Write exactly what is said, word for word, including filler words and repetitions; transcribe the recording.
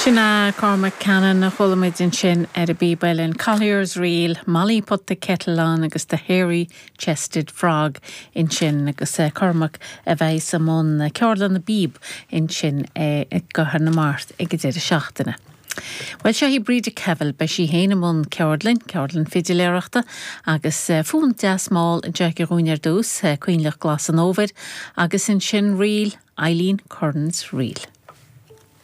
Sin é Cormac Cannon a chuala muid ansin ar an bpíob uilleann Collier's Reel, Molly put the kettle on agus the hairy chested frog ansin agus uh, Cormac a bheidh i mbun ceardlann na bpíob ansin uh, i gCathair na Mart ag an deireadh seachtaine. Well seo í Bríde Kevel beidh sí féin i mbun ceardlann, ceardlann fidiléireachta agus uh, fonn deas mall anseo dúinn ar dtús, uh, Coinleach Glas an Fhómhair, agus ansin ríl Eileen Curran's Reel.